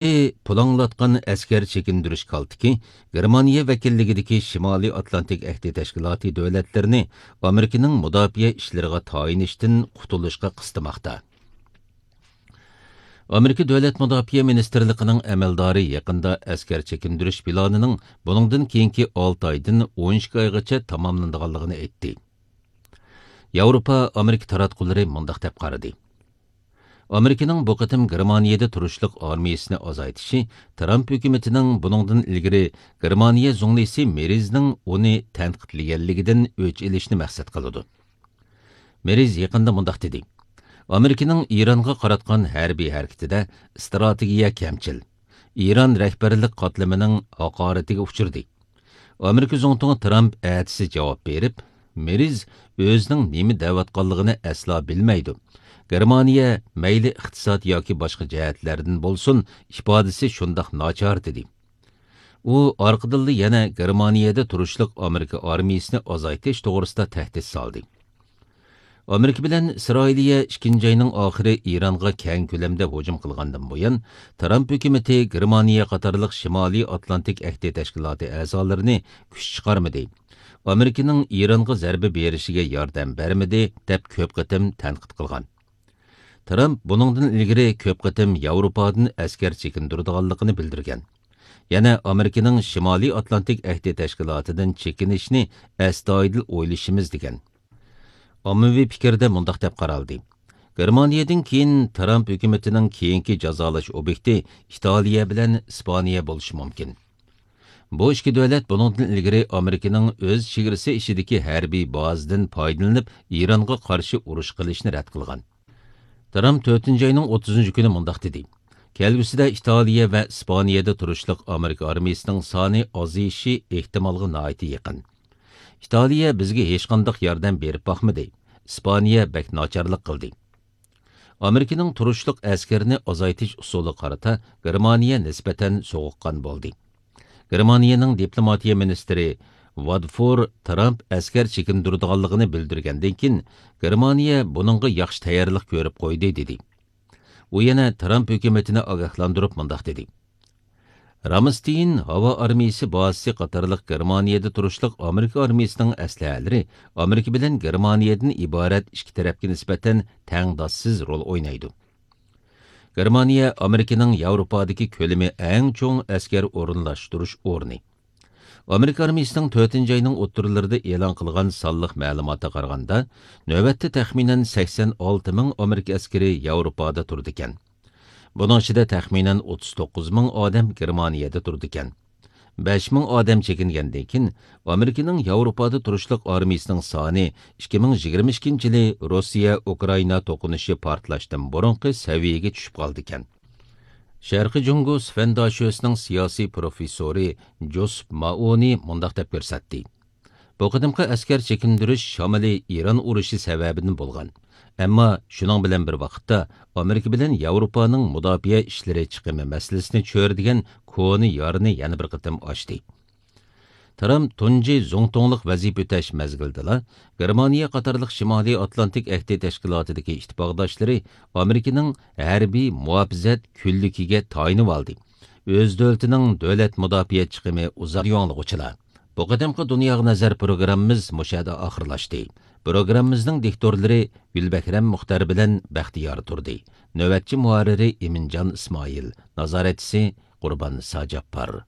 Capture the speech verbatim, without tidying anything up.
پۇلاڭلاتقان ئەسكەر چېكىندۈرۈش كالتىكى گېرمانىيە ۋەكىللىكىدىكى شىمالىي ئاتلانتىك ئەھدى تەشكىلاتى دۆلەتلىرىنى ئامېرىكىنىڭ مۇداپىئە ئىشلىرىغا تايىنىشتىن قۇتۇلۇشقا قىستىماقتا. ئامېرىكا دۆلەت مۇداپىئە مىنىستىرلىقىنىڭ ئەمەلدارى يېقىندا ئەسكەر چېكىندۈرۈش پىلانىنىڭ بۇنىڭدىن كېيىنكى ئالتە ئايدىن ئون ئىككى ئايغىچە تاماملىنىدىغانلىقىنى ئېيتتى. ياۋروپا ئامېرىكا تاراتقۇلىرى مۇنداق دەپ قارىدى: ئامېرىكىنىڭ بۇ قېتىم گېرمانىيەدە تۇرۇشلۇق ئارمىيىسىنى ئازايتىشى ترامپ ھۆكۈمىتىنىڭ بۇنىڭدىن ئىلگىرى گېرمانىيە زۇڭلىسى مېرىزنىڭ ئۇنى تەنقىدلىگەنلىكىدىن ئۆچ ئېلىشنى مەقسەت قىلىدۇ. مېرىز يېقىندا مۇنداق دېدى: ئامېرىكىنىڭ ئىرانغا قاراتقان ھەربىي ھەرىكىتىدە ئىستراتېگىيە كەمچىل، ئىران رەھبەرلىك قاتلىمىنىڭ ھاقارىتىگە ئۇچرىدى. ئامېرىكا زۇڭتۇڭى ترامپ ئەتىسى جاۋاب بېرىپ، مېرىز ئۆزىنىڭ نېمە دەۋاتقانلىقىنى ئەسلا بىلمەيدۇ. گېرمانىيە مەيلى ئىقتىساد ياكى باشقا جەھەتلەردىن بولسۇن، ئىپادىسى شۇنداق ناچار، دېدى. ئۇ ئارقىدىنلا يەنە گېرمانىيەدە تۇرۇشلۇق ئامېرىكا ئارمىيىسىنى ئازايتىش توغرىسىدا تەھدىت سالدى. ئامېرىكا بىلەن ئىسرائىلىيە ئىككىنچى ئاينىڭ ئاخىرى ئىرانغا كەڭ كۆلەمدە ھۇجۇم قىلغاندىن بۇيان، ترامپ ھۆكۈمىتى گېرمانىيە قاتارلىق شىمالىي ئاتلانتىك ئەھدى تەشكىلاتى ئەزالىرىنى كۈچ چىقارمىدى، ئامېرىكىنىڭ ئىرانغا زەربە بېرىشىگە ياردەم بەرمىدى، دەپ كۆپ قېتىم تەنقىد قىلغان. ترامپ بۇنىڭدىن ئىلگىرى كۆپ قېتىم ياۋروپادىن ئەسكەر چېكىندۈرىدىغانلىقىنى بىلدۈرگەن. يەنە ئامېرىكىنىڭ شىمالىي ئاتلانتىك ئەھدى تەشكىلاتىدىن چېكىنىشنى ئەستايىدىل ئويلىشىمىز، دېگەن. ئاممىۋى پىكىردە مۇنداق دەپ قارالدى: گېرمانىيەدىن كېيىن ترامپ ھۆكۈمىتىنىڭ كېيىنكى جازالاش ئوبيېكتى ئىتالىيە بىلەن ئىسپانىيە بولۇشى مۇمكىن. بۇ ئىككى دۆلەت بۇنىڭدىن ئىلگىرى ئامېرىكىنىڭ ئۆز چېگرىسى ئىچىدىكى ھەربىي بازىدىن پايدىلىنىپ ئىرانغا قارشى ئۇرۇش قىلىشنى رەت قىلغان. ترامپ تۆتىنچى ئاينىڭ ئوتتۇزىنچى كۈنى مۇنداق دېدى: كەلگۈسىدە ئىتالىيە ۋە ئىسپانىيەدە تۇرۇشلۇق ئامېرىكا ئارمىيىسىنىڭ سانى ئازىيىشى ئېھتىمالغا ناھايىتى يېقىن. ئىتالىيە بىزگە ھېچقانداق ياردەم بېرىپ باقمىدى. ئىسپانىيە بەك ناچارلىق قىلدى. ئامېرىكىنىڭ تۇرۇشلۇق ئەسكەرنى ئازايتىش ئۇسۇلىغا قارىتا گېرمانىيە نىسبەتەن سوغۇققان بولدى. گېرمانىيەنىڭ دىپلوماتىيە مىنىستىرى ۋادفور ترامپ ئەسكەر چېكىندۈرىدىغانلىقىنى بىلدۈرگەندىن كېيىن، گېرمانىيە بۇنىڭغا ياخشى تەييارلىق كۆرۈپ قويدى، دېدى. ئۇ يەنە ترامپ ھۆكۈمىتىنى ئاگاھلاندۇرۇپ مۇنداق دېدى: رامستېين ھاۋا ئارمىيىسى بازىسى قاتارلىق گېرمانىيەدە تۇرۇشلۇق ئامېرىكا ئارمىيىسىنىڭ ئەسلىھەلىرى ئامېرىكا بىلەن گېرمانىيەدىن ئىبارەت ئىككى تەرەپكە نىسبەتەن تەڭداشسىز رول ئوينايدۇ. گېرمانىيە ئامېرىكىنىڭ ياۋروپادىكى كۆلىمى ئەڭ چوڭ ئەسكەر ئورۇنلاشتۇرۇش ئورنى. ئامېرىكا ئارمىيىسىنىڭ تۆتىنچى ئاينىڭ ئوتتۇرىلىرىدا ئېلان قىلغان سانلىق مەلۇماتىغا قارىغاندا، نۆۋەتتە تەخمىنەن سەكسەن ئالتە مىڭ ئامېرىكا ئەسكىرى ياۋروپادا تۇرىدىكەن. بۇنىڭ ئىچىدە تەخمىنەن ئوتتۇز توققۇز مىڭ ئادەم گېرمانىيەدە تۇرىدىكەن. بەش مىڭ ئادەم چېكىنگەندىن كېيىن، ئامېرىكىنىڭ ياۋروپادا تۇرۇشلۇق ئارمىيىسىنىڭ سانى ئىككى مىڭ يىگىرمە ئىككىنچى يىلى روسىيە ئۇكرائىنا توقۇنۇشى پارتلاشتىن بۇرۇنقى سەۋىيەگە چۈشۈپ قالىدىكەن. شەرقىي جۇڭگو سفەنداشۆسىنىڭ سىياسىي پروفېسسورى جوسېپ مائونى مۇنداق دەپ كۆرسەتتى: بۇ قېتىمقى ئەسكەر چېكىندۈرۈش شامىلى ئىران ئۇرۇشى سەۋەبىدىن بولغان. ئەمما شۇنىڭ بىلەن بىر ۋاقىتتا، ئامېرىكا بىلەن ياۋروپانىڭ مۇداپىئە ئىشلىرى چىقىمى مەسىلىسىنى چۆرىدىگەن كونا يارىنى يەنە بىر قېتىم ئاچتى. ترامپ تۇنجى زۇڭتۇڭلۇق ۋەزىپە ئۆتەش مەزگىلىدىلا، گېرمانىيە قاتارلىق شىمالىي ئاتلانتىك ئەھدى تەشكىلاتىدىكى ئىتتىپاقداشلىرى ئامېرىكىنىڭ ھەربىي مۇھاپىزەت كۈنلۈكىگە تايىنىۋالدى. ئۆز دۆلىتىنىڭ دۆلەت مۇداپىئە چىقىمى ئۇزارتىۋالغۇچىلار. بۇ قېتىمقى دۇنياغا نەزەر پروگراممىمىز مۇشۇ يەردە ئاخىرلاشتى. پروگراممىمىزنىڭ دىكتورلىرى گۈلبەھرەم مۇختەر بىلەن بەختىيار تۇردى. نۆۋەتچى مۇھەررىرى ئىمىنجان ئىسمائىل. نازارەتچىسى قۇربان ساجاپپار.